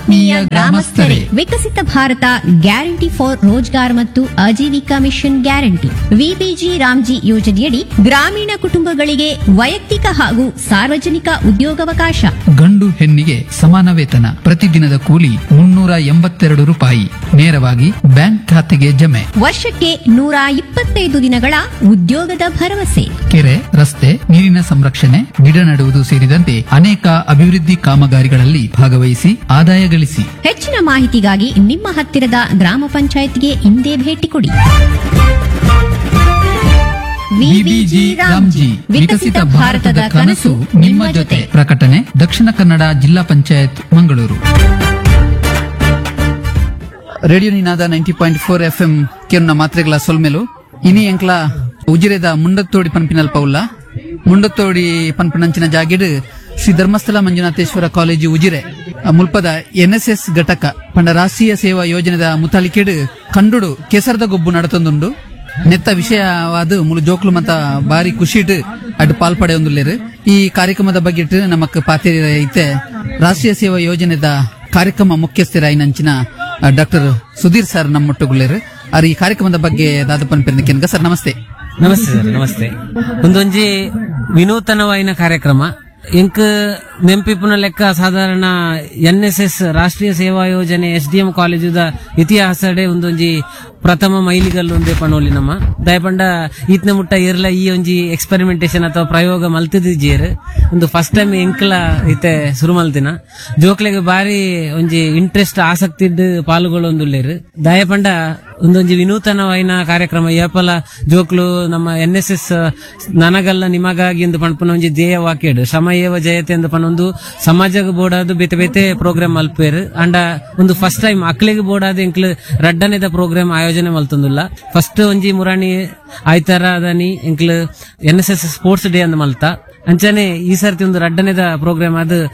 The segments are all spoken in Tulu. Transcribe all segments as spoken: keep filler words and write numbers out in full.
ಆತ್ಮೀಯ ಗ್ರಾಮಸ್ಥರೇ ವಿಕಸಿತ ಭಾರತ ಗ್ಯಾರಂಟಿ ಫಾರ್ ರೋಜ್ಗಾರ್ ಮತ್ತು Ajeevika mission guarantee VBG Ramji ಯೋಜನೆಯಡಿ ಗ್ರಾಮೀಣ ಕುಟುಂಬಗಳಿಗೆ ವೈಯಕ್ತಿಕ ಹಾಗೂ ಸಾರ್ವಜನಿಕ ಉದ್ಯೋಗಾವಕಾಶ ಗಂಡು ಹೆಣ್ಣಿಗೆ ಸಮಾನ ವೇತನ, ಪ್ರತಿದಿನದ ಕೂಲಿ ಮುನ್ನೂರ ಎಂಬತ್ತೆರಡು ರೂಪಾಯಿ ನೇರವಾಗಿ ಬ್ಯಾಂಕ್ ಖಾತೆಗೆ ಜಮೆ. ವರ್ಷಕ್ಕೆ ನೂರ ಇಪ್ಪತ್ತೈದು ದಿನಗಳ ಉದ್ಯೋಗದ ಭರವಸೆ. ಕೆರೆ, ರಸ್ತೆ, ನೀರಿನ ಸಂರಕ್ಷಣೆ, ಗಿಡ ನೆಡುವುದು ಸೇರಿದಂತೆ ಅನೇಕ ಅಭಿವೃದ್ಧಿ ಕಾಮಗಾರಿಗಳಲ್ಲಿ ಭಾಗವಹಿಸಿ ಆದಾಯ ಗಳಿಸಿ. ಹೆಚ್ಚಿನ ಮಾಹಿತಿಗಾಗಿ ನಿಮ್ಮ ಹತ್ತಿರದ ಗ್ರಾಮ ಪಂಚಾಯತ್ಗೆ ಇಂದೇ ಭೇಟಿ ಕೊಡಿ. ವಿಬಿಜಿ ರಾಮ್ಜಿ, ವಿಕಸಿತ ಭಾರತದ ಕನಸು ನಿಮ್ಮ ಜೊತೆ. ಪ್ರಕಟಣೆ ದಕ್ಷಿಣ ಕನ್ನಡ ಜಿಲ್ಲಾ panchayat, Mangaluru. Radio Ninada ninety point four F M ಕೆನ್ನ ಮಾತ್ರೆಗಳ ಸೊಲ್ಮೆಲು. ಇನಿ ಎಂಕ್ಲ ಉಜಿರೆದ ಮುಂಡತ್ತೋಡಿ ಪನ್ಪಿನಲ್ಪ ಉಲ್ಲ. ಮುಂಡತ್ತೋಡಿ ಪನ್ಪನಂಚಿನ ಜಾಗಿಡ್ ಶ್ರೀ ಧರ್ಮಸ್ಥಳ ಮಂಜುನಾಥೇಶ್ವರ ಕಾಲೇಜು ಉಜಿರೆ ಆ ಮುಲ್ಪದ ಎನ್ಎಸ್ಎಸ್ ಘಟಕ ಪಂಡ ರಾಷ್ಟ್ರೀಯ ಸೇವಾ ಯೋಜನೆದ ಮುತಾಲಿಕೆಡ್ ಕಂಡುಡು ಕೆಸರದ ಗೊಬ್ಬು ನಡತೊಂದುಂಡು. ನೆತ್ತ ವಿಷಯವಾದ ಮುಲು ಜೋಕ್ಲು ಮತ ಬಾರಿ ಖುಷಿಟ್ ಅಡ್ ಪಾಲ್ಪಡೆಯೊಂದುಲ್ಲೇರು. ಈ ಕಾರ್ಯಕ್ರಮದ ಬಗ್ಗೆ ನಮಕ್ ಪಾತೇರಿ ಐತೆ ರಾಷ್ಟ್ರೀಯ ಸೇವಾ ಯೋಜನೆದ ಕಾರ್ಯಕ್ರಮ ಮುಖ್ಯಸ್ಥರಾಯಿನಂಚಿನ ಡಾಕ್ಟರ್ ಸುಧೀರ್ ಸರ್ ನಮ್ಮೊಟ್ಟುಗುಲ್ಲೇರು. ಆರ್ ಈ ಕಾರ್ಯಕ್ರಮದ ಬಗ್ಗೆ ದಾದಪ್ಪನ್ ಪೆರ್ನಿಕೆನ್ಗ. ಸರ್ ನಮಸ್ತೆ. ನಮಸ್ತೆ ಸರ್, ನಮಸ್ತೆ. ಒಂದೊಂಜಿ ವಿನೂತನವಾಯಿನ ಕಾರ್ಯಕ್ರಮ. ಎಂಕ್ ನೆಂಪಿಪುನ ಲೆಕ್ಕ ಸಾಧಾರಣ ಎನ್ ಎಸ್ ಎಸ್ ರಾಷ್ಟ್ರೀಯ ಸೇವಾ ಯೋಜನೆ ಎಸ್ ಡಿ ಎಂ ಕಾಲೇಜುದ ಇತಿಹಾಸಡೆ ಒಂದೊಂಜಿ ಪ್ರಥಮ ಮೈಲಿಗಲ್ಲು ಒಂದೇ ಪಣೋಲಿ ನಮ್ಮ ದಯಪಂಡ ಈತ್ನ ಮುಟ್ಟ ಇರ್ಲ ಈ ಒಂಜಿ ಎಕ್ಸ್ಪೆರಿಮೆಂಟೇಶನ್ ಅಥವಾ ಪ್ರಯೋಗ ಮಲ್ತಿದ್ದೀರ್. ಒಂದು ಫಸ್ಟ್ ಟೈಮ್ ಎಂಕ್ಲ ಇತ್ತೆ ಶುರು ಮಲ್ತಿನ. ಜೋಕ್ಲೆಗ್ ಬಾರಿ ಒಂಜಿ ಇಂಟ್ರೆಸ್ಟ್ ಆಸಕ್ತಿ ಇದ್ದು ಪಾಲುಗಳೊಂದುಲ್ಲೇರು. ದಯಪಂಡ ಒಂದೊಂಜಿ ವಿನೂತನವಾಯಿನ ಕಾರ್ಯಕ್ರಮ. ಏಪಲ ಜೋಕ್ಲು ನಮ್ಮ ಎನ್ ಎಸ್ ಎಸ್ ನನಗಲ್ಲ ನಿಮಗಾಗಿ ಎಂದು ಪಣಪುನ ಒಂಜಿ ಧ್ಯೇಯ ವಾಕ್ಯಡು ಶ್ರಮ ಏವ ಜಯತೆ ಎಂದು ಪನೊಂದು ಸಮಾಜಕ್ಕೆ ಬೋಡಾದ ಬೇತೆ ಬೇತೆ ಪ್ರೋಗ್ರಾಮ್ ಮಲ್ಪೇರು. ಅಂಡ ಒಂದು ಫಸ್ಟ್ ಟೈಮ್ ಅಕ್ಲೆಗ್ ಬೋಡಾದ ಎಂಕ್ಲು ರಡ್ಡನೇದ ಪ್ರೋಗ್ರಾಮ್ ಆಯೋಜನೆ ಮಲ್ತೊಂದುಲ್ಲ. ಫಸ್ಟ್ ಒಂಜಿ ಮುರಾಣಿ ಆಯ್ತಾರ ಅದನಿ ಎಂಕ್ಲು N S S sports day ಅಂದ್ ಮಲ್ತ. ಅಂಚನೆ ಈ ಸರ್ತಿ ಒಂದು ರಡ್ಡನೇದ ಪ್ರೋಗ್ರಾಮ್ ಅದು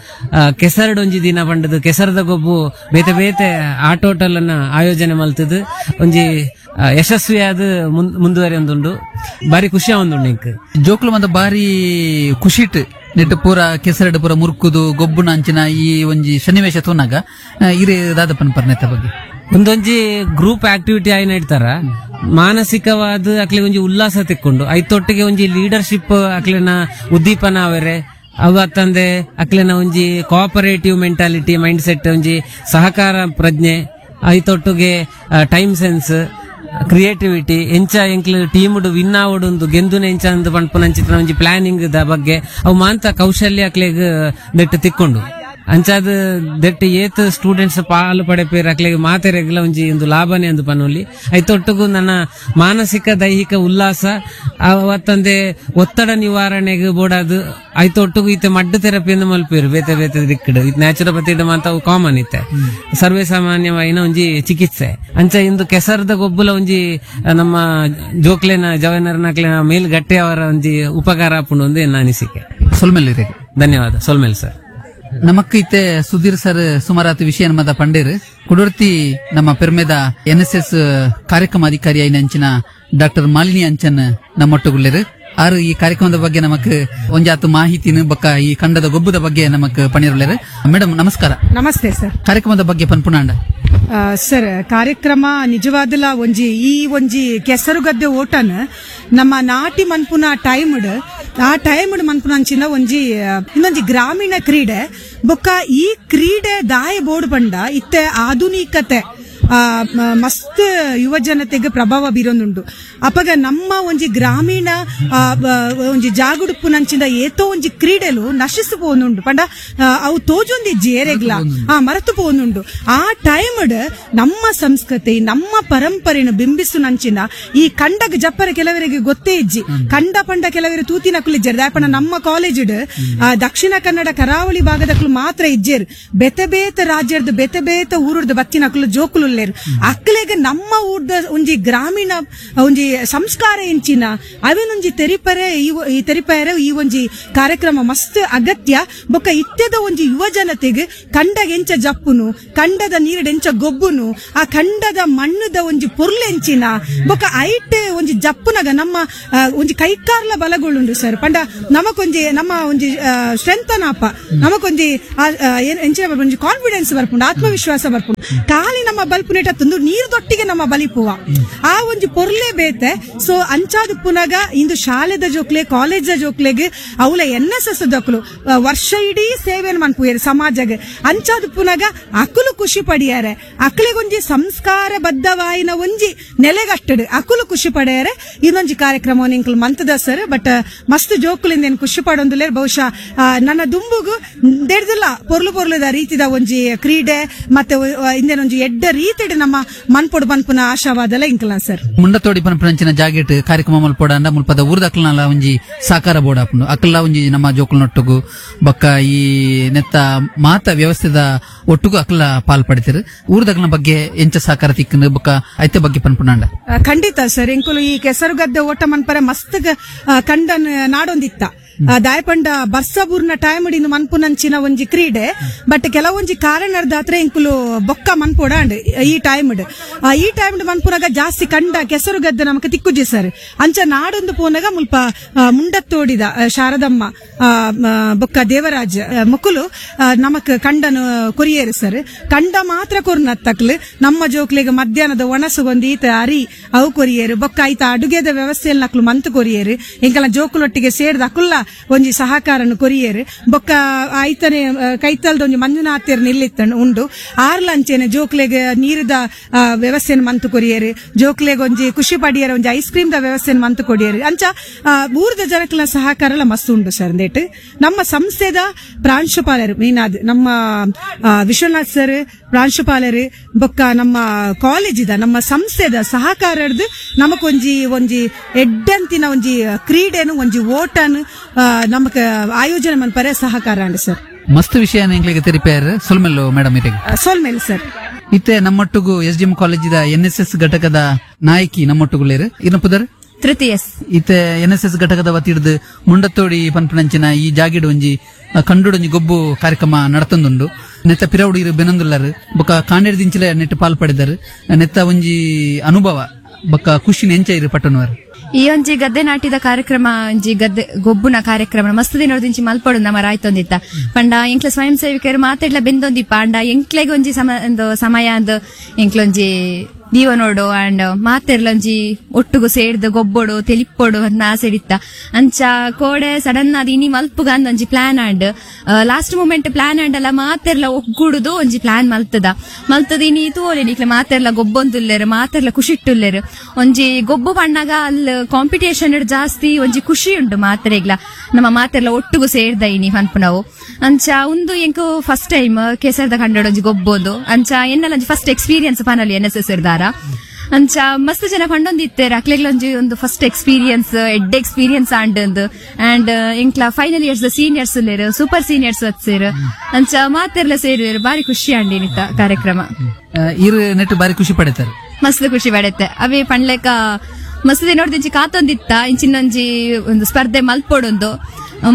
ಕೆಸರಡ್ ಒಂಜಿ ದಿನ ಪಂಡದು ಕೆಸರದ ಗೊಬ್ಬು ಬೇತೆ ಬೇತೆ ಆಟೋಟಲನ್ನ ಆಯೋಜನೆ ಮಲ್ತದು ಒಂಜಿ ಆ, ಯಶಸ್ವಿಯಾದ ಮುಂದುವರಿಯೊಂದುಂಡು. ಬಾರಿ ಖುಷಿ ಒಂದುಂಡು ಇಂಕ್. ಜೋಕ್ಲು ಮಂದ ಬಾರಿ ಖುಷಿಟ್ ನೆಟ್ಟು ಪೂರ ಕೆಸರಡ್ ಪೂರ ಮುರ್ಕುದು ಗೊಬ್ಬುನ ಅಂಚಿನ ಈ ಒಂಜಿ ಸನ್ನಿವೇಶ ತೂನಾಗ ಇರೇ ದಾದಪ್ಪನ್ ಪರ್ನೆತ್ತ ಬಗ್ಗೆ. ಒಂದೊಂಜಿ ಗ್ರೂಪ್ ಆಕ್ಟಿವಿಟಿ ಆಯ್ನ ಇಡ್ತಾರ. ಮಾನಸಿಕವಾದ ಅಕ್ಲೆ ಒಂಜಿ ಉಲ್ಲಾಸ ತಿಕ್ಕೊಂಡು ಐತೊಟ್ಟಿಗೆ ಒಂಜಿ ಲೀಡರ್ಶಿಪ್ ಅಕ್ಲೆನ ಉದ್ದೀಪನ ಅವರೆ ಅವು ಅತ್ತಂದೆ ಅಕ್ಲೆನ ಒಂಜಿ cooperative mentality mind set ಒಂಜಿ ಸಹಕಾರ ಪ್ರಜ್ಞೆ ಐತೊಟ್ಟಿಗೆ time sense creativity ಎಂಚ ಎಂಕ್ಲು ಟೀಮ್ ವಿನ್ ಆವಡುಂದು ಗೆಂದುನ ಎಂಚ ಅಂದ್ ಪನ್ಪುನಂಚಿನ ಒಂಜಿ ಪ್ಲಾನಿಂಗ್ the ಬಗ್ಗೆ ಅವು ಮಾಂತ ಕೌಶಲ್ಯ ಅಕ್ಲೆಗ್ ನೆಟ್ಟು ತಿಕ್ಕೊಂಡು. ಅಂಚಾದ ದೆಟ್ಟ ಏತ್ ಸ್ಟೂಡೆಂಟ್ಸ್ ಪಾಲು ಪಡೆಪೇರ್ ಅಕ್ಲೆಗ್ ಮಾತೆರೆಗ್ಲ ಒಂಜಿ ಒಂದು ಲಾಭನೇ ಅಂದು ಪನೊಲಿ. ಐತೊಟ್ಟುಗು ನನ್ನ ಮಾನಸಿಕ ದೈಹಿಕ ಉಲ್ಲಾಸ ಅವತ್ತಂದೆ ಒತ್ತಡ ನಿವಾರಣೆಗೆ ಬೋಡಾದು ಐತೊಟ್ಟುಗು ಇತ್ತೆ ಮಡ್ಡು ಥೆರಪಿಯನ್ನು ಮಲ್ಪೇರು ಬೇತೆ ಬೇತೆ ದಿಕ್ಕಡು. ಇದು ನ್ಯಾಚುರೋಪತಿ ಮಾತ ಅವು ಕಾಮನ್ ಇತ್ತೆ ಸರ್ವೇ ಸಾಮಾನ್ಯವಾಯಿನ ಒಂಜಿ ಚಿಕಿತ್ಸೆ. ಅಂಚ ಇಂದು ಕೆಸರದ ಗೊಬ್ಬುಲ ಒಂಜಿ ನಮ್ಮ ಜೋಕ್ಲೆನ ಜವನರ್ನಕ್ಲೆನ ಮೇಲ್ ಗಟ್ಟೆ ಅವರ ಒಂಜಿ ಉಪಕಾರ ಆಪುಂಡು ಒಂದು ಎನ್ನ ಅನಿಸಿಕೆ. ಸೊಲ್ಮೆಲ್. ಧನ್ಯವಾದ ಸೊಲ್ಮೆಲ್ ಸರ್. ನಮಕ್ ಇತ್ತೆ ಸುಧೀರ್ ಸರ್ ಸುಮಾರಾತ್ ವಿಷಯ ನಮ್ಮದ ಪಂಡೇರ್. ಕುಡುರ್ತಿ ನಮ್ಮ ಪೆರ್ಮೆದ ಎನ್ ಎಸ್ ಎಸ್ ಕಾರ್ಯಕ್ರಮ ಅಧಿಕಾರಿ ಅಂಚಿನ ಡಾಕ್ಟರ್ ಮಾಲಿನಿ ಅಂಚನ್ ನಮ್ಮೊಟ್ಟುಗುಲ್ಲೇರು. ಆರು ಈ ಕಾರ್ಯಕ್ರಮದ ಬಗ್ಗೆ ನಮಕ್ ಒಂಜಾತು ಮಾಹಿತಿನ ಬಕ್ಕ ಈ ಖಂಡದ ಗೊಬ್ಬದ ಬಗ್ಗೆ ನಮಕ್ ಪಣಿರುಲ್ಲೇರು. ಮೇಡಮ್ ನಮಸ್ಕಾರ. ನಮಸ್ತೆ ಸರ್. ಕಾರ್ಯಕ್ರಮದ ಬಗ್ಗೆ ಪನ್ಪುನಾಂಡ. ಆ, ಸರ್ ಕಾರ್ಯಕ್ರಮ ನಿಜವಾದಲ ಒಂಜಿ ಈ ಒಂಜಿ ಕೆಸರುಗದ್ದೆ ಓಟನ್ ನಮ್ಮ ನಾಟಿ ಮನ್ಪುನ ಟೈಮ್ಡ್ ಆ ಟೈಮ್ಡ್ ಮನ್ಪುನ ಅಂಚಿನ ಒಂಜಿ ಆ, ಇನ್ನೊಂಜಿ ಗ್ರಾಮೀಣ ಕ್ರೀಡೆ. ಬೊಕ್ಕ ಈ ಕ್ರೀಡೆ ದಾಯ ಬೋರ್ಡ್ ಪಂಡ ಇತ್ತೆ ಆಧುನಿಕತೆ ಆ, ಮ- ಮಸ್ತ್ ಯುವ ಜನತೆಗೆ ಪ್ರಭಾವ ಬೀರೊಂದುಂಡು. ಅಪಗ ನಮ್ಮ ಒಂಜಿ ಗ್ರಾಮೀಣ ಆ, ಬ- ಒಂಜಿ ಜಾಗುಡುಪ್ಪು ನಂಚಿಂದ ಏತೋ ಒಂಜಿ ಕ್ರೀಡೆಲು ನಶಿಸು ಪೋನುಂಡು ಪಂಡ ಆ, ಅವು ತೋಜೊಂದಿಜ್ಜಿ ಏರೆಗ್ಲ ಆ ಮರೆತು ಪೋನುಂಡು. ಆ ಟೈಮ್ಡ್ ನಮ್ಮ ಸಂಸ್ಕೃತಿ ನಮ್ಮ ಪರಂಪರೆನು ಬಿಂಬಿಸು ನಂಚಿನ ಈ ಕಂಡಗ ಜಪ್ಪರ ಕೆಲವರಿಗೆ ಗೊತ್ತೇ ಇಜ್ಜಿ. ಕಂಡ ಪಂಡ ಕೆಲವರು ತೂತಿನ ಕುಲಿಜ್ಜರು ದಾಯಪಂಡ ನಮ್ಮ ಕಾಲೇಜಿಡ್ ಆ, ದಕ್ಷಿಣ ಕನ್ನಡ ಕರಾವಳಿ ಭಾಗದಕ್ಲು ಮಾತ್ರ ಇಜ್ಜೇರು. ಬೇತೆ ಬೇತೆ ರಾಜ್ಯದ ಬೇತೆ ಬೇತೆ ಊರುರ್ದು ಬತ್ತಿನಕ್ಲು ಜೋಕುಲು ಮಲ್ತೊಂದುಲ್ಲೇರು. ಅಕ್ಲೆಗ್ ನಮ್ಮ ಊರ್ದ ಒಂಜಿ ಗ್ರಾಮೀಣ ಒಂಜಿ ಸಂಸ್ಕಾರ ಎಂಚಿನ ಅವೆನೊಂಜಿ ತೆರಿಪರೆ ಈ ತೆರಿಪರೆ ಈ ಒಂಜಿ ಕಾರ್ಯಕ್ರಮ ಮಸ್ತ್ ಅಗತ್ಯ. ಬೊಕ್ಕ ಇತ್ಯದ ಒಂಜಿ ಯುವ ಜನತೆಗ್ ಕಂಡಗ ಎಂಚ ಜಪ್ಪುನು, ಕಂಡದ ನೀರುಡೆಂಚ ಗೊಬ್ಬುನು, ಆ ಕಂಡದ ಮಣ್ಣುದ ಒಂಜಿ ಪೊರ್ಲೆಂಚಿನ ಬೊಕ್ಕ ಐಟ್ ಒಂಜಿ ಜಪ್ಪುನಗ ನಮ್ಮ ಒಂಜಿ ಕೈಕಾರ್ಲ ಬಲಗೊಳ್ಳುಂಡು ಸರ್. ಪಂಡ ನಮಕೊಂಜಿ ನಮ್ಮ ಒಂಜಿ ಸ್ಟ್ರೆಂತ್ ಅನಾಪ ನಮಕೊಂಜಿ ಎಂಚಿನ ಒಂಜಿ ಕಾನ್ಫಿಡೆನ್ಸ್ ಬರ್ಪುಂಡು, ಆತ್ಮವಿಶ್ವಾಸ ಬರ್ಪುಂಡು. ಖಾಲಿ ನಮ್ಮ ಬಲ್ಪುನೇಟ ತಂದು ನೀರು ದೊಟ್ಟಿಗೆ ನಮ್ಮ ಬಲಿಪುವ ಆ ಒಂಜಿ ಪೊರ್ಲೆ ಬೇತೆ. ಸೊ ಅಂಚಾದ ಪುನಗ ಇಂದು ಶಾಲೆದ ಜೋಕ್ಲೆ ಕಾಲೇಜ್ ಜೋಕ್ಲೆಗ್ ಅವಲ N S S ದಕ್ಲು ವರ್ಷ ಇಡೀ ಸೇವೆಯನ್ನು ಮನ್ಪುಯರು ಸಮಾಜಗ್. ಅಂಚಾದ ಪುನಗ ಅಕುಲು ಖುಷಿ ಪಡಿಯಾರೆ, ಅಕ್ಲೆಗೊಂಜಿ ಸಂಸ್ಕಾರ ಬದ್ಧವಾಯಿನ ಒಂಜಿ ನೆಲೆಗಟ್ಟಡು ಅಕುಲು ಖುಷಿ ಪಡೆಯರೆ. ಇನ್ನೊಂಜಿ ಕಾರ್ಯಕ್ರಮ ನಿಂಕಲ್ ಮಂತದ ಸರ್. ಬಟ್ ಮಸ್ತ್ ಜೋಕುಲಿಂದ ಏನ್ ಖುಷಿ ಪಡೊಂದುಲ್ಲೇರ್. ಬಹುಶಃ ನನ್ನ ದುಂಬುಗು ದೇಡ್ದಿಲ್ಲ ಪೊರ್ಲು ಪೊರ್ಲುದ ರೀತಿದ ಒಂಜಿ ಕ್ರೀಡೆ ಮತ್ತೆ ಇಂದೇನೊಂಜಿ ಎಡ್ಡ ರೀತಿಡ್ ನಮ್ಮ ಮನ್ಪೊಡು ಪನ್ಪುನ ಆಶಾವಾದಲ ಇಂಕಲ ಸರ್. ಮುಂಡತೋಡಿ ಪನ್ಪುನಂಚಿನ ಜಾಗೆಟ್ ಕಾರ್ಯಕ್ರಮ ಮಲ್ಪೊಡ ಅಂಡ ಮುಲ್ಪದ ಊರ್ದಕ್ಲನಲ ಒಂಜಿ ಸಾಕಾರ ಬೋರ್ಡ್ ಆಪುಂಡು. ಅಕ್ಲ ಒಂಜಿ ನಮ್ಮ ಜೋಕುಲ್ನೊಟ್ಟುಗು ಬೊಕ್ಕ ಈ ನೆತ್ತ ಮಾತ ವ್ಯವಸ್ಥೆದ ಒಟ್ಟುಗು ಅಕ್ಲ ಪಾಲ್ ಪಡಿತಿರು. ಊರ್ದಕ್ಲನ ಬಗ್ಗೆ ಎಂಚ ಸಾಕಾರ ತಿಕ್ಕಂದು ಬೊಕ್ಕ ಐತೆ ಬಗ್ಗೆ ಪನ್ಪುನಾಂಡ. ಖಂಡಿತ ಸರ್, ಎಂಕುಲು ಈ ಕೆಸರುಗದ್ದೆ ಓಟ ಮನ್ಪರೆ ಮಸ್ತ್ ಕಂಡನ್ ನಾಡೊಂದಿತ್ತ ದಾಯಪಂಡ ಬರ್ಸಬೂರ್ನ ಟೈಮ್ ಇಂದು ಮನ್ಪುನಂಚಿನ ಒಂಜಿ ಕ್ರೀಡೆ. ಬಟ್ ಕೆಲವೊಂಜಿ ಕಾರಣದಾತ್ರ ಎಂಕುಲು ಬೊಕ್ಕ ಮನ್ಪೋಡ ಈ ಟೈಮ್ ಈ ಟೈಮ್ ಮನ್ಪುನಾಗ ಜಾಸ್ತಿ ಕಂಡ ಕೆಸರುಗದ್ದೆ ನಮಕ್ ತಿಕ್ಕುಜಿ ಸರ್. ಅಂಚ ನಾಡೊಂದು ಪೋನಾಗ ಮುಲ್ಪ ಮುಂಡತ್ತೋಡಿದ ಶಾರದಮ್ಮ ಬೊಕ್ಕ ದೇವರಾಜ್ ಮುಕುಲು ನಮಕ್ ಕಂಡನು ಕೊರಿಯೇರು ಸರ್. ಕಂಡ ಮಾತ್ರ ಕೊರ್ನತ್ತಕ್ಲು ನಮ್ಮ ಜೋಕ್ಲೆಗ್ ಮಧ್ಯಾಹ್ನದ ಒಣಸುಗೊಂದು ಈತ ಅರಿ ಅವು ಕೊರಿಯೇರು ಬೊಕ್ಕ ಐತ ಅಡುಗೆದ ವ್ಯವಸ್ಥೆಯಲ್ಲಿ ನಕ್ಲು ಮಂತ್ ಕೊರಿಯೇರು. ಎಂಕಲ ಜೋಕುಲೊಟ್ಟಿಗೆ ಸೇರ್ದ ಅಕುಲ್ಲ ಒಂಜಿ ಸಹಕಾರನು ಕೊರಿಯೇರು. ಬೊಕ್ಕ ಐತನೆ ಕೈತಲ್ದ ಒಂಜಿ ಮಂಜುನಾಥ್ಯರ್ ನಿಲ್ಲಿತ್ತ ಉಂಡು ಆರ್ಲಂಚೆನೆ ಜೋಕ್ಲೆಗ್ ನೀರದ ವ್ಯವಸ್ಥೆಯನ್ನು ಮಂತು ಕೊರಿಯೇರು. ಜೋಕ್ಲೆಗ್ ಒಂಜಿ ಖುಷಿ ಪಡಿಯರ ಒಂಜಿ ice cream the ವ್ಯವಸ್ಥೆಯನ್ನು ಮಂತು ಕೊಡಿಯೇರು. ಅಂಚ ಊರದ ಜನಕ್ಲ ಸಹಕಾರ ಎಲ್ಲ ಮಸ್ತ್ ಉಂಡು ಸರ್. ಅಂದೇಟ್ ನಮ್ಮ ಸಂಸ್ಥೆದ ಪ್ರಾಂಶುಪಾಲರು ಮೀನಾದ್ ನಮ್ಮ ವಿಶ್ವನಾಥ್ ಸರ್ ಪ್ರಾಂಶುಪಾಲರು ಬೊಕ್ಕ ನಮ್ಮ ಕಾಲೇಜಿದ ನಮ್ಮ ಸಂಸ್ಥೆದ ಸಹಕಾರದ್ದು ನಮಕೊಂಜಿ ಒಂಜಿ ಎಡ್ಡಂತಿನ ಒಂಜಿ ಕ್ರೀಡೆನು ಒಂಜಿ ಓಟನು ನಮಕ್ ಆಯೋಜನೆ ಮನ್ಪರೆ ಸಹಕಾರ ಅಂಡ್ ಸರ್. ಮಸ್ತ್ ವಿಷಯ ಎಂಗ್ಲಿಗೆ ತೆರಿಪೇರ್ ಸೊಲ್ಮೆಲ್ಲು ಮೇಡಮ್ ಇರೆಗ್. ಸೊಲ್ಮೆಲ್ ಸರ್. ಇತ್ತೆ ನಮ್ಮೊಟ್ಟುಗು S D M ಕಾಲೇಜಿದ N S S ಘಟಕದ ನಾಯಕಿ ನಮ್ಮೊಟ್ಟುಗುಳ್ಳೇರು. ಇನ್ನ ಪುದರ್ ತೃತೀಯಸ್. ಇತ್ತೆ N S S ಘಟಕದ ವತಿಡ್ದು ಮುಂಡತ್ತೋಡಿ ಪನ್ಪುನಂಚಿನ ಈ ಜಾಗಿಡು ಒಂಜಿ ಕಂಡುಡೊಂಜಿ ಗೊಬ್ಬು ಕಾರ್ಯಕ್ರಮ ನಡತೊಂದುಂಡು. ನೆತ್ತ ಪಿರವುಡು ಇರು ಬೆನೊಂದುಲ್ಲರು ಬೊಕ್ಕ ಕಾಂಡೇರ್ ದಿಂಚಿಲೆ ನೆಟ್ ಪಾಲ್ ಪಡೆದರು. ನೆತ್ತ ಒಂಜಿ ಅನುಭವ ಬೊಕ್ಕ ಖುಷಿ ನೆಂಚ ಇರು ಪಟ್ಟಣವರು. ಈ ಒಂಜಿ ಗದ್ದೆ ನಾಟಿದ ಕಾರ್ಯಕ್ರಮ ಒಂಜಿ ಗದ್ದೆ ಗೊಬ್ಬುನ ಕಾರ್ಯಕ್ರಮ ಮಸ್ತ್ ದಿನೊರ್ದಿಂಚಿ ಮಲ್ಪೊಡು ನಮ್ಮ ರಾಯ್ತೊಂದಿತ್ತ ಪಂಡ ಎಂಕ್ಲ ಸ್ವಯಂ ಸೇವಕರು ಮಾತೆಡ್ಲ ಬೆಂದೊಂದಿಪ್ಪ ಅಂಡ ಎಂಕ್ಲೆಗ್ ಒಂಜಿ ಸಮ ಒಂದು ಸಮಯ ಅಂದ್ ಎಂಕ್ಲೊಂಜಿ ದೀವನೋಡು ಅಂಡ್ ಮಾತೆರ್ಲೊಂಜಿ ಒಟ್ಟುಗು ಸೇರ್ದು ಗೊಬ್ಬೊಡು ತೆಲಿಪ್ಪೊಡು ಅಂತ ಆಸೆ ಇತ್ತ. ಅಂಚ ಕೋಡೆ ಸಡನ್ ಆದ್ ಇನಿ ಮಲ್ಪುಗ ಅಂದ್ ಒಂಜಿ plan and last moment plan and ಅಲ್ಲ ಮಾತೆರ್ಲ ಒಗ್ಗೂಡುದು ಒಂಜಿ ಪ್ಲಾನ್ ಮಲ್ತದ ಮಲ್ತದ ಇನಿ ತೋಲೆ ನಿಕ್ಲೆ ಮಾತೆರ್ಲ ಗೊಬ್ಬೊಂದುಲ್ಲೇರು ಮಾತೆರ್ಲ ಖುಷಿಟ್ಟುಲ್ಲೇರು. ಒಂಜಿ ಗೊಬ್ಬು ಪಣ್ಣಾಗ ಅಲ್ಲಿ ಕಾಂಪಿಟೇಷನ್ ಜಾಸ್ತಿ ಒಂಜಿ ಖುಷಿ ಉಂಟು ಮಾತೆರೆಗ್ಲ ನಮ್ಮ ಮಾತೆರ್ಲ ಒಟ್ಟುಗು ಸೇರ್ದ ಇನಿ ಪನ್ಪುನವು. ಅಂಚ ಉಂದು ಎಂಕು ಫಸ್ಟ್ ಟೈಮ್ ಕೆಸರ್ದ ಕಂಡೋಡು ಒಂಜಿ ಗೊಬ್ಬೋದು. ಅಂಚ ಎನ್ನಲ ಒಂಜಿ ಫಸ್ಟ್ ಎಕ್ಸ್ಪೀರಿಯನ್ಸ್ ಪನಲಿ N S S ಇರ್ದಾರ. ಅಂಚ ಮಸ್ತ್ ಜನ ಪಂಡೊಂದಿತ್ತೇರ್ ಅಕ್ಲೆಗ್ಲೊಂಜಿ ಒಂದು ಫಸ್ಟ್ ಎಕ್ಸ್ಪೀರಿಯನ್ಸ್ ಎಡ್ಡೆ ಎಕ್ಸ್ಪೀರಿಯನ್ಸ್ ಆಂಡ್ ಅಂಡ್ ಎಂಕ್ಲ final years seniors ಉಲ್ಲೇರು super seniors ಸೇರು ಅಂಚ ಮಾತೆರ್ಲ ಸೇರುವೆರು ಬಾರಿ ಖುಷಿ ಆಂಡ್ ಇನಿತ ಕಾರ್ಯಕ್ರಮ. ಇರು ನೆಟ್ ಬಾರಿ ಖುಷಿ ಪಡೆತಾರೆ. ಮಸ್ತ್ ಖುಷಿ ಪಡೆತ್ತೆ ಅವೇ ಪಂಡ್ಲೆಕ ಮಸ್ತ್ ನೋಡ್ದಿಂಚಿ ಕಾತೊಂದಿತ್ತ ಇಂಚಿನೊಂಜಿ ಒಂದು ಸ್ಪರ್ಧೆ ಮಲ್ಪೊಡೊಂದು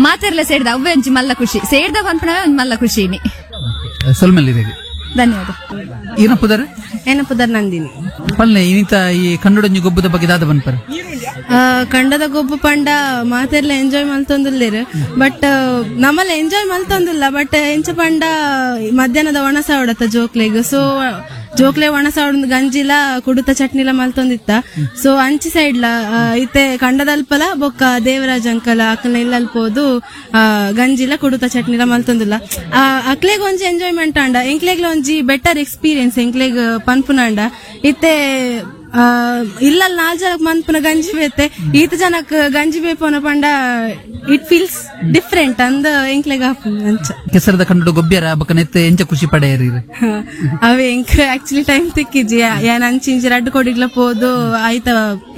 ಮಾತೆರ್ಲ ಸೇರ್ದ ಅವೇ ಒಂಜಿ ಮಲ್ಲ ಖುಷಿ ಸೇರ್ದ ಪನ್ಪುನವೇ ಒಂಜಿ ಮಲ್ಲ ಖುಷಿ. ಸೊಲ್ಮೆಲ್ ಧನ್ಯವಾದ. ಏನ ಪುದರ್? ಏನ ಪುದರ್ ನಂದಿನಿ. ಪಲ್ಲೆ ಇನ್ನಿತ ಈ ಕಂಡೊಡೊಂಜಿ ಗೊಬ್ಬದ ಬಗ್ಗೆ ದಾದ ಬನ್ಪರ್. ಕಂಡದ ಗೊಬ್ಬು ಪಂಡ ಮಾತೆರ್ಲ ಎಂಜಾಯ್ ಮಲ್ತೊಂದುಲ್ಲೇರು. ಬಟ್ ನಮ್ಮಲ್ಲ ಎಂಜಾಯ್ ಮಲ್ತೊಂದುಲ್ಲ. ಬಟ್ ಎಂಚ ಪಂಡ ಮಧ್ಯಾಹ್ನದ ಒಣಸ ಹೊಡತ ಜೋಕ್ಲೆಗ್. ಸೊ ಜೋಕ್ಲೆ ಒಣಸ ಹೊಡೊಂದು ಗಂಜಿಲ ಕುಡುತ ಚಟ್ನಿಲ ಮಲ್ತೊಂದಿತ್ತ. ಸೊ ಅಂಚಿ ಸೈಡ್ಲ ಇತ್ತೆ ಕಂಡದಲ್ಪಲ ಬೊಕ್ಕ ದೇವರಾಜ್ ಅಂಕಲ್ ಅಕ್ಲ ಇಲ್ಲಲ್ಪೋದು ಗಂಜಿಲ ಕುಡುತ ಚಟ್ನಿಲ ಮಲ್ತೊಂದಿಲ್ಲ. ಅಕ್ಲೆಗ್ ಒಂಜಿ ಎಂಜಾಯ್ಮೆಂಟ್ ಅಂಡ ಎಂಕ್ಲೆಗ್ಲ ಒಂಜಿ ಬೆಟರ್ ಎಕ್ಸ್ಪೀರಿಯನ್ಸ್ ಎಂಕ್ಲೆಗ್ ಪನ್ಪುನಾಂಡ. ಇತ್ತೆ ಇಲ್ಲಲ್ ನಾಲ್ ಜನಕ್ ಮನ್ಪುನ ಗಂಜಿ ಬೇತೆ ಈತ ಜನಕ್ ಗಂಜಿ ಬೇಪೋನ ಪಂಡ it feels different ಅಂದ ಎಂಕ್ಲೆಗ್ ಅಂಚ. ಕೆಸರದ ಕಂಡು ಗೊಬ್ಬ್ಯರ ಬೊಕ್ಕ ನೆತ್ತೆ ಎಂಚ ಖುಷಿ ಪಡೆಯರಿ. ಅವೇ ಎಂಕ್ ಆಕ್ಚುಲಿ ಟೈಮ್ ತಿಕ್ಕಿಜಿ ಯಾನ್ ಅಂಚಿಂಚಿ ರಡ್ಡು ಕೊಡಿಗ್ಲ ಪೋದು ಆಯ್ತ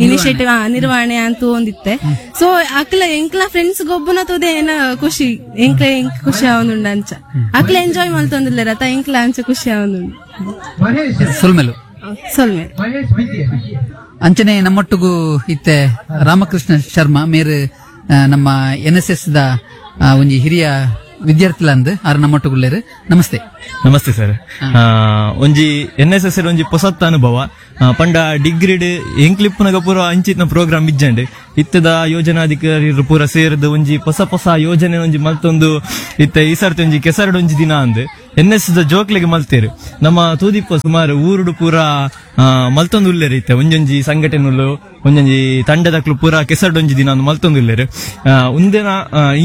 ಇನಿಷಿಯೇಟಿವ್ ನಿರ್ವಹಣೆ ಅಂತ ಒಂದಿತ್ತೆ. ಸೊ ಅಕ್ಲ ಎಂಕ್ಲ ಫ್ರೆಂಡ್ಸ್ ಗೊಬ್ಬುನ ತೋದೆ ಏನ ಖುಷಿ ಎಂಕ್ಲ ಎಂಕ್ ಖುಷಿ ಆವೊಂದುಂಡು ಅಂಚ. ಅಕ್ಲ ಎಂಜಾಯ್ ಮಲ್ತೊಂದಿಲ್ಲ ರತ ಎಂಕ್ಲ ಅಂಚ ಖುಷಿ ಆವೊಂದುಂಡು. ಸೊಲ್ಮೆಲು. ಸೊಲ್ಮೆ. ಅಂಚನೆ ನಮ್ಮೊಟ್ಟಿಗೂ ಇತ್ತೆ ರಾಮಕೃಷ್ಣ ಶರ್ಮಾ ಮೇರು ನಮ್ಮ N S S the ಒಂಜಿ ಹಿರಿಯ ವಿದ್ಯಾರ್ಥಿಲಂದ್ ಆರ್ ನಮ್ಮೊಟ್ಟುಗುಲ್ಲೇರು. ನಮಸ್ತೆ. ನಮಸ್ತೆ ಸರ್. ಒಂಜಿ N S S ಒಂಜಿ ಪೊಸತ್ತ ಅನುಭವ. ಪಂಡ ಡಿಗ್ರಿಡ್ ಎಂಕ್ಲಿಪ್ಪುನಗ ಪೂರ ಅಂಚಿತ್ನ ಪ್ರೋಗ್ರಾಮ್ ಇಜ್ಜಂಡ್. ಇತ್ತದ ಯೋಜನಾಧಿಕಾರಿ ಪೂರ ಸೇರಿದ ಒಂಜಿ ಹೊಸ ಹೊಸ ಯೋಜನೆ ಒಂಜಿ ಮಲ್ತೊಂದು ಇತ್ತ ಈ ಸರ್ತಿ ಒಂಜಿ ಕೆಸರಡು ಒಂಜಿ ದಿನ ಅಂದ್ N S S ಜೋಕ್ಲೆಗೆ ಮಲ್ತೇರು. ನಮ್ಮ ತೂದಿಪ್ಪ ಸುಮಾರು ಊರುಡು ಪೂರ ಮಲ್ತೊಂದು ಉಲ್ಲೇರು. ಇತ್ತೆ ಒಂಜೊಂಜಿ ಸಂಘಟನೆಲು ಒಂಜೊಂಜಿ ತಂಡದಕ್ಲು ಪೂರ ಕೆಸರಡೊಂಜಿ ದಿನ ಮಲ್ತೊಂದು ಉಲ್ಲೇರು. ಒಂದಿನ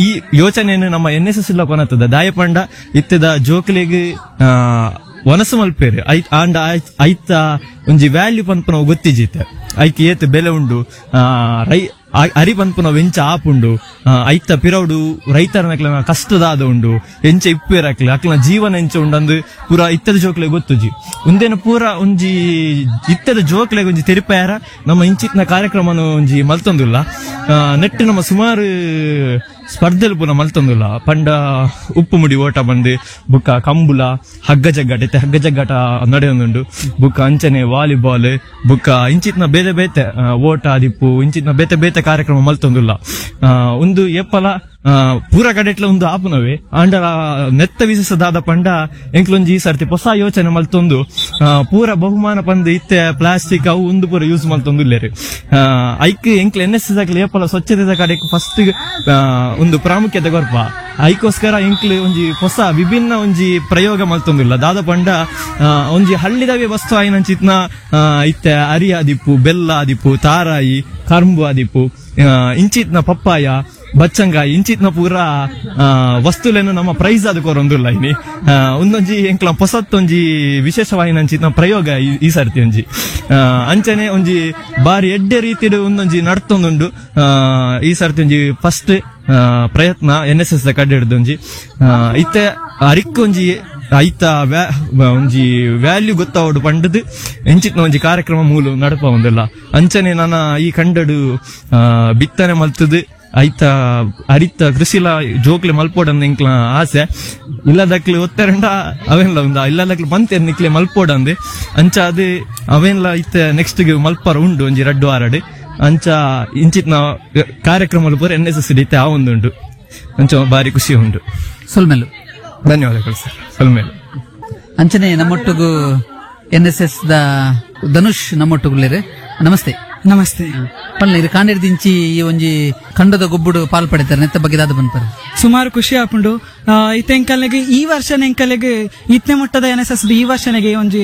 ಈ ಯೋಚನೆಯನ್ನು ನಮ್ಮ N S S ಇಲ್ಲ ಕೊನತದ ದಾಯಪಂಡ ಇತ್ತದ ಜೋಕ್ಲೆಗ್ ವನಸು ಮಲ್ಪೇರು. ಆಂಡ ಐತ ಒಂಜಿ ವ್ಯಾಲ್ಯೂ ಪನ್ಪುನವು ಗೊತ್ತಿಜಿತ್ತೆ. ಐಕ್ ಏತ್ ಬೆಲೆ ಉಂಡು, ರೈ ಅರಿ ಪನ್ಪುನವು ಎಂಚ ಆಪುಂಡು, ಐತ ಪಿರೌಡು ರೈತರನಕ್ಲೆನ ಕಷ್ಟದಾದ ಉಂಡು, ಎಂಚ ಇಪ್ಪೇರ್ ಅಕ್ಲೆ ಅಕ್ಲೆನ ಜೀವನ ಎಂಚ ಉಂಡು ಅಂದ್ ಪೂರ ಇತ್ತದ ಜೋಕ್ಲೆ ಗೊತ್ತುಜಿ. ಉಂದೇನ ಪೂರ ಒಂಜಿ ಇತ್ತದ ಜೋಕ್ಲೆಗ್ ಒಂಜಿ ತೆರಿಪಾಯರ ನಮ್ಮ ಇಂಚಿತ್ನ ಕಾರ್ಯಕ್ರಮನ ಒಂಜಿ ಮಲ್ತೊಂದುಲ್ಲ. ನೆಟ್ ನಮ್ಮ ಸುಮಾರು ಸ್ಪರ್ಧೆಲು ಪೂರ ಮಲ್ತೊಂದುಲ್ಲ. ಪಂಡ ಉಪ್ಪು ಮುಡಿ ಓಟ ಬಂದು ಬುಕ್ಕ ಕಂಬುಲ ಹಗ್ಗ ಜಗ್ಗಾಟ ಇತ್ತೆ ಹಗ್ಗ ಜಗ್ಗಾಟ ನಡೆಯೊಂದುಂಡು. ಬುಕ್ಕ ಅಂಚನೆ ವಾಲಿಬಾಲ್ ಬುಕ್ಕ ಇಂಚಿತ್ನ ಬೇತೆ ಬೇತೆ ಓಟ ದಿಪ್ಪು ಇಂಚಿತ್ನ ಬೇತೆ ಬೇತೆ ಕಾರ್ಯಕ್ರಮ ಮಲ್ತೊಂದುಲ್ಲ. ಒಂದು ಏಪಲ ಪೂರ ಕಡೆಟ್ಲ ಒಂದು ಆಪುನವೇ ಆಂಡ ನೆತ್ತ ವಿಶೇಷದಾದ ಪಂಡ ಎಂಕ್ಲೊಂಜಿ ಈ ಸರ್ತಿ ಹೊಸ ಯೋಚನೆ ಮಲ್ತೊಂದು ಪೂರ ಬಹುಮಾನ ಪಂದ್ ಇತ್ತೆ ಪ್ಲಾಸ್ಟಿಕ್ ಅವು ಒಂದು ಪೂರ ಯೂಸ್ ಮಲ್ತೊಂದು ಇಲ್ಲೇರು. ಐಕ್ ಎಂಕ್ಲ N S S ಏಪಲ ಸ್ವಚ್ಛತೆದ ಕಡೆಕ್ ಫಸ್ಟ್ ಒಂದು ಪ್ರಾಮುಖ್ಯತೆ ಕೊರ್ಪ. ಐಕೋಸ್ಕರ ಎಂಕ್ಲು ಒಂಜಿ ಹೊಸ ವಿಭಿನ್ನ ಒಂಜಿ ಪ್ರಯೋಗ ಮಲ್ತೊಂದಿಲ್ಲ. ದಾದ ಪಂಡ ಒಂಜಿ ಹಳ್ಳಿದವೇ ವಸ್ತು ಆಯಿನಂಚಿತ್ನ ಇತ್ತೆ ಅರಿ ಆದಿಪ್ಪು, ಬೆಲ್ಲ ಆದಿಪ್ಪು, ತಾರಾಯಿ, ಕರ್ಂಬು ಆದಿಪ್ಪು, ಇಂಚಿತ್ನ ಪಪ್ಪಾಯ, ಬಚ್ಚಂಗಾಯಿ ಇಂಚಿತ್ನ ಪೂರ ವಸ್ತುಲೇನು ನಮ್ಮ ಪ್ರೈಸ್ ಅದು ಕೊರೊಂದುಲ್ಲ ಇನಿ. ಒಂದೊಂಜಿ ಎಂಕ್ಲ ಪೊಸತ್ತೊಂಜಿ ವಿಶೇಷವಾಯಿನಂಚಿತ್ನ ಪ್ರಯೋಗ ಈ ಸರ್ತಿ ಒಂಜಿ ಅಂಚನೆ ಒಂಜಿ ಬಾರಿ ಎಡ್ಡೆ ರೀತಿಡ್ ಒಂದೊಂಜಿ ನಡ್ತೊಂದುಂಡು. ಈ ಸರ್ತಿ ಒಂಜಿ ಫಸ್ಟ್ ಪ್ರಯತ್ನ N S S the ಕಡೆ ಹಿಡ್ದೊಂಜಿ ಇತ್ತೆ ಅರಿಕ್ಕೊಂಜಿ ಐತ ಒಂಜಿ ವ್ಯಾಲ್ಯೂ ಗೊತ್ತಾವಡು ಪಂಡದು ಎಂಚಿತ್ನ ಒಂಜಿ ಕಾರ್ಯಕ್ರಮ ಮೂಲ ನಡಪ ಒಂದಲ್ಲ. ಅಂಚನೆ ನನ್ನ ಈ ಕಂಡಡು ಬಿತ್ತನೆ ಮಲ್ತದು ಐತ ಅರಿತ ಕೃಷಿಲ ಜೋಕ್ಲೆ ಮಲ್ಪೋಡಂದ್ ಎಂಕ್ಲ ಆಸೆ. ಇಲ್ಲದಕ್ಲೆ ಒತ್ತರಂಡ ಅವೇನ್ಲ ಉಂದ ಇಲ್ಲದಕ್ಲೆ ಬಂತೆ ನಿಕ್ಲೆ ಮಲ್ಪೋಡಂದ್ ಅಂಚ ಅದು ಅವೇನ್ಲ ಇತ್ತ ನೆಕ್ಸ್ಟ್ ಮಲ್ಪರ ಉಂಡು ಒಂಜಿ ರಡ್ಡು ಆರಡು ಅಂಚ ಇಂಚಿತ್ನ ಕಾರ್ಯಕ್ರಮ ಪೂರ N S S ಇತ್ತೆ ಆ ಒಂದುಂಡು. ಅಂಚ ಬಾರಿ ಖುಷಿ ಉಂಡು. ಸೊಲ್ಮೆಲು ಧನ್ಯವಾದಗಳು ಸರ್. ಸೊಲ್ಮೆಲು. ಅಂಚನೆ ನಮ್ಮೊಟ್ಟಿಗೂ N S S the Dhanush ನಮ್ಮೊಟ್ಟುಗುಲ್ಲೇರು. Namaste. Namaste. ಪಲ್ಲೆ ಇದು ಕಾಂಡೇರ್ದಿಂಚಿ ಈ ಒಂಜಿ ಖಂಡದ ಗೊಬ್ಬುಡು ಪಾಲ್ ಪಡೆತಾರೆ ನೆತ್ತ ಬಗ್ಗೆ ದಾದ ಬಂದ್ಪಾರೆ. ಸುಮಾರು ಖುಷಿ ಆಪುಂಡು. ಇತ್ತೆ ಎಂಕಲ್ನೆಗೆ ಈ ವರ್ಷನ ಎಂಕಲೆಗೆ ಇತ್ನೆ ಮೊಟ್ಟದ N S S ಈ ವರ್ಷನೆಗೆ ಒಂಜಿ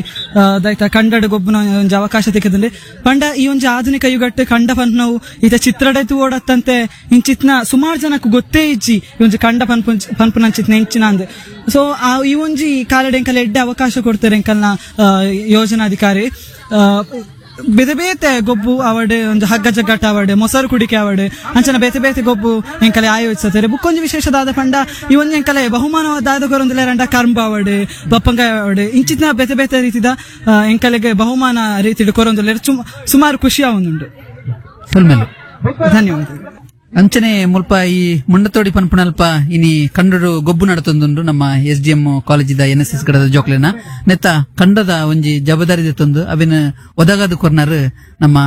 ದೈತ ಕಂಡಡ ಗೊಬ್ಬುನ ಒಂಜಿ ಅವಕಾಶ ತಿಕ್ಕದಂಡೆ. ಪಂಡ ಈ ಒಂಜಿ ಆಧುನಿಕ ಯುಗಟ್ಟು ಕಂಡ ಪನ್ಪುನವು ಇತ ಚಿತ್ರಡೆ ಓಡತ್ತಂತೆ ಇಂಚಿತ್ನ ಸುಮಾರು ಜನಕ್ಕೆ ಗೊತ್ತೇ ಇಜ್ಜಿ ಈ ಒಂಜಿ ಕಂಡ ಪನ್ಪು ಪನ್ಪುನಂಚಿತ್ನ ಎಂಚಿನ ಅಂದ್. ಸೊ ಆ ಈ ಒಂಜಿ ಕಾಲಡೆ ಎಂಕಲ್ ಎಡ್ಡೆ ಅವಕಾಶ ಕೊಡ್ತಾರೆ ಎಂಕಲ್ನ ಯೋಜನಾಧಿಕಾರಿ. ಬೇತೆ ಬೇತೆ ಗೊಬ್ಬು ಅವಡೆ ಒಂದು ಹಗ್ಗ ಜಗ್ಗಾಟ ಅವಡೆ, ಮೊಸರು ಕುಡಿಕೆ ಅವಡೆ, ಅಂಚನ ಬೇತೆ ಬೇತೆ ಗೊಬ್ಬು ಎಂಕಲೆ ಆಯೋಜಿಸುತ್ತಾರೆ. ಬುಕ್ಕೊಂಜಿ ವಿಶೇಷದಾದ ಪಂಡ ಈ ಒಂಜಿ ಎಂಕಲೆ ಬಹುಮಾನವಾದ ಕೊರೊಂದುಲ್ಲೆರಂಡ ಕರ್ಂಬ ಅವಡೆ, ಬಪ್ಪಂಗಾಯ ಅವಡೆ, ಇಂಚಿನ ಬೇತೆ ಬೇತೆ ರೀತಿದ ಎಂಕಲೆಗೆ ಬಹುಮಾನ ರೀತಿಡ್ ಕೊರೊಂದುಲ್ಲೆರ್. ಸುಮಾರು ಖುಷಿ ಆವೊಂದುಂಡು. ಧನ್ಯವಾದ. ಅಂಚನೆ ಮುಲ್ಪ ಈ ಮುಂಡತೋಡಿ ಪನ್ಪುನಲ್ಪ ಇನಿ ಕಂಡಡು ಗೊಬ್ಬು ನಡತೊಂದುಂಡು ನಮ್ಮ S D M ಕಾಲೇಜಿದ N S S Gaddada ಜೋಕ್ಲೆನ. ನೆತ್ತ ಕಂಡದ ಒಂಜಿ ಜವಾಬ್ದಾರಿ ತಂದು ಅವಿನ ಒದಗಾದ ಕೊರ್ನಾರು ನಮ್ಮ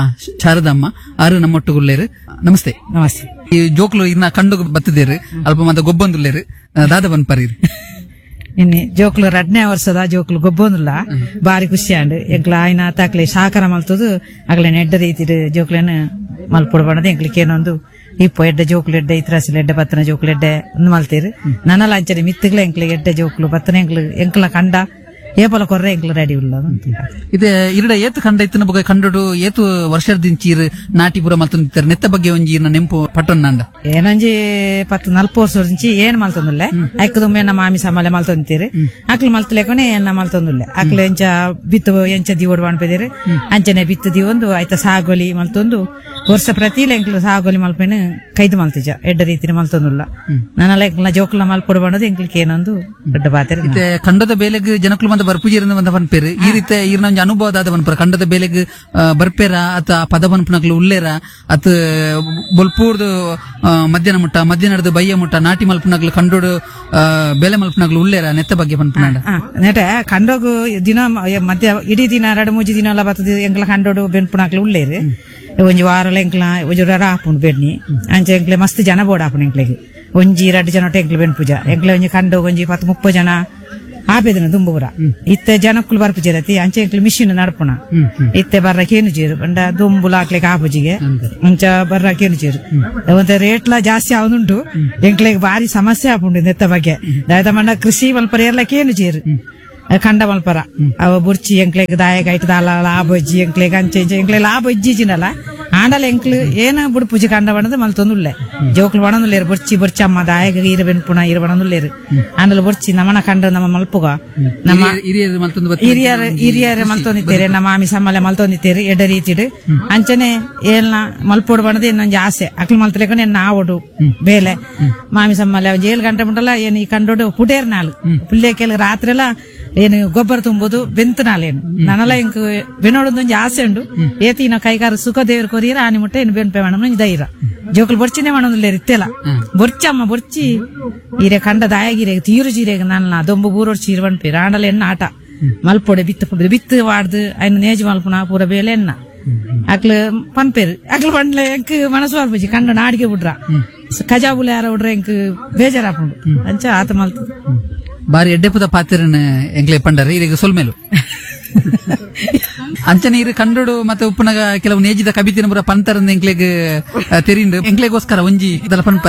ಶಾರದಮ್ಮ ಆರು ನಮ್ಮೊಟ್ಟುಗುಲ್ಲೇರು. ನಮಸ್ತೆ. ನಮಸ್ತೆ. ಈ ಜೋಕ್ಲು ಇನ್ನ ಕಂಡು ಬತ್ತಿದ್ದೇರು ಅಲ್ಪ ಮಾತ ಗೊಬ್ಬೊಂದುಲ್ಲೇರು ದಾದ ಬನ್ಪರೀರ್. ಇನ್ನು ಜೋಕ್ಲು ರಡ್ನೇ ವರ್ಷದ ಜೋಕ್ಲು ಗೊಬ್ಬೊಂದುಲ್ಲ ಬಾರಿ ಖುಷಿ ಆಂಡ್. ಎಂಕ್ಲ ಆಯ್ನ ತಾಕ್ಲೆ ಸಹಕಾರ ಮಲ್ತದು ಅಗ್ಲೆ ಎಡ್ಡ ರೀತಿ ಜೋಕ್ಲೆನ ಮಲ್ಪೊಡು ಬಣ್ಣದ ಎಂಕ್ಲಿಕ್ಕೆ ಏನೊಂದು ಇಪ್ಪ ಎಡ್ಡೆ ಜೋಕ್ಲು ಎಡ್ಡೆ ಇತ್ರಾಸಿಲ್ ಎಡ್ಡೆ ಪತ್ತನ ಜೋಕ್ಲು ಎಡ್ಡೆ ಒಂದು ಮಲ್ತೀರು. ನನ್ನಲ ಅಂಚನೆ ಮಿತ್ತುಗ್ಲ ಎಂಕ್ಲೆ ಎಡ್ಡೆ ಜೋಕ್ಲು ಪತ್ತನ ಎಂಕ್ಲು ಎಂಕ್ಲ ಕಂಡ ಏಪಲ ಕೊರ್ರೆ ಎಂಕ್ಲು ರೆಡಿ ಉಲ್ಲ. ಇದೆ ಇರಡ ಏತು ಕಂಡ ಇತ್ತಿನ ಬಗ್ಗೆ ಕಂಡಡು ಏತು ವರ್ಷದಿಂಚಿ ಇರು ನಾಟಿ ಪೂರ ಮಲ್ತೊಂದಿತ್ತಾರೆ ನೆತ್ತ ಬಗ್ಗೆ ಒಂಜಿ ಇರ್ನ ನೆಂಪು ಪಟ್ಟೊನ್ನಾಂಡ. ಏನೊಂಜಿ ಪತ್ತು ನಲ್ಪ ವರ್ಷದಿಂಚಿ ಏನ್ ಮಲ್ತೊಂದುಲ್ಲೆ ಐಕದುಮ್ಮೆ ನಮ್ಮ ಮಾಮಿ ಸಮಾಲೆ ಮಲ್ತೊಂದಿತ್ತೀರಿ. ಅಕ್ಲು ಮಲ್ತಲೇಕೊನೆ ಏನ ಮಲ್ತೊಂದುಲ್ಲೆ ಅಕ್ಲು ಎಂಚ ಬಿತ್ತು ಎಂಚ ದಿವೋಡು ಅನ್ಪದಿರಿ ಅಂಚನೆ ಬಿತ್ತು ದಿವೊಂದು ಆಯ್ತ ಸಾಗೋಲಿ ಮಲ್ತೊಂದು ವರ್ಷ ಪ್ರತಿ ಎಂಕ್ಲು ಸಾಗೋಲಿ ಮಲ್ಪೇನು ಕೈದು ಮಲ್ತಿಜ ಎಡ್ಡ ರೀತಿನ ಮಲ್ತೊಂದುಲ್ಲ. ನನ್ನಲ್ಲ ಎಂಕ್ಲ ಜೋಕ್ಲ ಮಲ್ಪೊಡು ಬಣ್ಣದು ಎಂಕ್ಲಿಕ್ಕೆ ಏನೊಂದು ದೊಡ್ಡ ಬಾತೆರೆ. ಕಂಡದ ಬೇಲೆಗೆ ಜನಕ್ಲು ಮಂದ ಬರ್ಪುಜೀರಿಂದ ಬಂದ ಪನ್ಪೇರು ಈ ರೀತಿ ಈರ್ನ ಒಂಜಿ ಅನುಭವ ದಾದ ಪನ್ಪರ ಕಂಡದ ಬೇಲೆಗ್ ಆ, ಬರ್ಪೇರ ಅತ ಆ ಪದ ಪನ್ಪುನಕ್ಲು ಉಲ್ಲೇರ ಅತ್ ಬೊಲ್ಪೂರ್ದು ಆ, ಮಧ್ಯಾಹ್ನ ಮುಟ್ಟ ಮಧ್ಯಾಹ್ನದ ಬಯ್ಯ ಮುಟ್ಟ ನಾಟಿ ಮಲ್ಪುನಕ್ಲು ಕಂಡೋಡು ಆ, ಬೇಲೆ ಮಲ್ಪುನಕ್ಲು ಉಲ್ಲೇರ ನೆತ್ತ ಬಗ್ಗೆ ಪನ್ಪುನಾಂಡ ಆ, ನೆಟ ಕಂಡೋಗು ದಿನ ಮ- ಮಧ್ಯ ಇಡೀ ದಿನ ಎರಡು ಮೂಜಿ ದಿನ ಎಲ್ಲ ಬರ್ತದೆ ಎಂಕ್ಲ ಕಂಡೋಡು ಬೆನ್ಪುನಾಕ್ಲು ಉಳ್ಳೇರು ಒಂಜಿ ವಾರಲ ಎಂಕ್ಲ ಒಂಜಿ ರರ ಆಪುಂಡು ಬೆನ್ನಿ ಅಂಚೆ ಎಂಕ್ಲೆ ಮಸ್ತ್ ಜನ ಬೋಡ ಆಪುಂಡು ಎಂಕ್ಲೆಗ್ ಒಂಜಿ ರಡ್ಡು ಜನ ಒಟ್ಟು ಎಂಕ್ಲೆ ಬೆನ್ಪುಜ ಎಂಕ್ಲೆ ಒಂಜಿ ಕಂಡೋಗ್ ಒಂಜಿ ಪತ್ತು ಮುಪ್ಪ ಜನ ಆಪೆದಿನ ದುಂಬುಪುರ ಇತ್ತೆ ಜನಕ್ಕುಲು ಬರ್ಪುಜೇರತಿ ಅಂಚೆ ಎಂಕ್ಲೆ ಮಿಷಿನ್ ನಡ್ಪುಣ ಇತ್ತೆ ಬರ್ರಕೇನು ಚೇರು ಪಂಡ ದುಂಬುಲ ಹಾಕ್ಲಿಕ್ಕೆ ಆಪುಜಿಗೆ ಅಂಚ ಬರ್ರಕೇನು ಚೇರು ಒಂತೆ ರೇಟ್ಲ ಜಾಸ್ತಿ ಆವದುಂಟು ಎಂಕ್ಲೆಗ್ ಬಾರಿ ಸಮಸ್ಯೆ ಆಪುಂಡು ನೆತ್ತ ಬಗ್ಗೆ ದಾಯತ ಮಂಡ ಕೃಷಿ ಮಲ್ಪರ ಏರ್ಲಕ್ಕೇನು ಚೇರು ಕಂಡ ಮಲ್ಪರ ಅವ ಬುರ್ಚಿ ಎಂಕ್ಲೆಗ್ ದಾಯಗ ಐಟ್ ದಾಲ ಲಾಭ ಇಜ್ಜಿ ಎಂಕ್ಲೆಗ್ ಅಂಚೆ ಇಂಚೆ ಎಂಕ್ಲೆ ಲಾಭ ಇಜ್ಜಿಜಿನಲ್ಲ ಆಂಡಲ ಎಂಕ್ಲು ಏನ ಬುಡ್ಪುಜಿ ಕಂಡ ಬಣ್ಣದ ಮಲ್ತೊಂದುಲ್ಲೆ ಜೋಕ್ಲು ಬಣದುಲ್ಲೇರು ಬುರ್ಚಿ ಬುರ್ಚಿ ಅಮ್ಮ ದಾಯಗ ಈರ ಬೆನ್ಪುಣ ಈರ ಬಣದುಲ್ಲೇರು ಆಂಡಲ ಬುರ್ಚಿ ನಮನ ಕಂಡ ನಮ್ಮ ಮಲ್ಪುಗ ನಮ್ಮ ಹಿರಿಯರು ಮಲ್ತೊಂದು ಬತ್ತಿನ ಹಿರಿಯರ ಹಿರಿಯರ ಮಲ್ತೊಂದಿತ್ತೇರೆ ನಮ್ಮ ಮಾಮಿ ಸಮ್ಮಲೆ ಮಲ್ತೊಂದಿತ್ತೇರು ಎಡ್ಡ ರೀತಿಡು ಅಂಚನೆ ಏಲ್ನ ಮಲ್ಪೋಡು ಬಣ್ಣದ ಇನ್ನೊಂಜಿ ಆಸೆ ಅಕ್ಲು ಮಲ್ತಲೇಕೊಂಡು ಎನ್ನ ಆವಡು ಬೇಲೆ ಮಾಮಿ ಸಮ್ಮಲೆ ಒಂಜಿ ಏಳು ಗಂಟೆ ಮುಟ್ಟಲ್ಲ ಏನು ಈ ಕಂಡೋಡು ಪುಟೇರ್ ನಾಳು ಪುಲ್ಲೇಕೆಲ್ ರಾತ್ರಿ ಎಲ್ಲ ಏನು ಗೊಬ್ಬರ ತುಂಬುದು ಬೆಂತು ನಾಲೇನು ನನಲ ಇಂಕ್ ಬೆನೋಡೊಂದು ಆಸೆ ಉಂಡು ಏತಿನ ಕೈಗಾರ ಸುಖ ದೇವ್ರ ಕೊರಿಯರ ಆನಿ ಮುಟ್ಟೆ ಏನು ಬೆನ್ಪೆ ಮೇಡಮ್ ಧೈರ್ಯ ಜೋಕುಲು ಬೊರ್ಚಿನೇ ಮಾಡೋದಿಲ್ಲ ಇತ್ತೆಲ್ಲ ಬೊರ್ಚಮ್ಮ ಬೊರ್ಚಿ ಈರೆ ಕಂಡ ದಾಯಗಿರೆ ತೀರು ಜೀರೆಗ್ ನನ್ನ ದೊಂಬು ಬೂರೋಡ್ ಚೀರು ಬಣ್ಪೇರು ಆಂಡಲ ಎನ್ನ ಆಟ ಮಲ್ಪೊಡೆ ಬಿತ್ತು ಬಿತ್ತು ವಾಡ್ದು ಅಯ್ನ ನೇಜು ಮಲ್ಪುನ ಪೂರ ಬೇಲೆ ಎನ್ನ ಅಕ್ಲು ಪನ್ಪೇರು ಅಕ್ಲು ಪಂಡ್ಲೆ ಎಂಕ್ ಮನಸ್ಸು ಬರ್ಪುಜಿ ಕಂಡ ನಾಡಿಗೆ ಬಿಡ್ರ ಕಜಾಬುಲ ಯಾರ ಬಿಡ್ರ ಎಂಕ್ ಬೇಜಾರಾಪುಂಡು ಅಂಚ ಆತ ಮಲ್ತು ಬಾರಿ ಎಡ್ಡೆಪುದ ಪಾತ್ರನ ಎಂಕ್ಲೆ ಪಂಡರ್ ಈಗ ಸೊಲ್ಮೇಲು ಅಂಚನೆ ಇರು ಕಂಡೋಡು ಮತ್ತೆ ಉಪ್ಪುನಗ ಕೆಲವು ನೇಜಿದ ಕಬಿತಿನ ಪುರ ಪಂತರಂದ ಎಂಕ್ಲೆಗ್ ತೆರಿಂಡು ಎಂಕ್ಲೆಗೋಸ್ಕರ ಒಂಜಿ ಇದೆಲ್ಲ ಪನ್ಪ.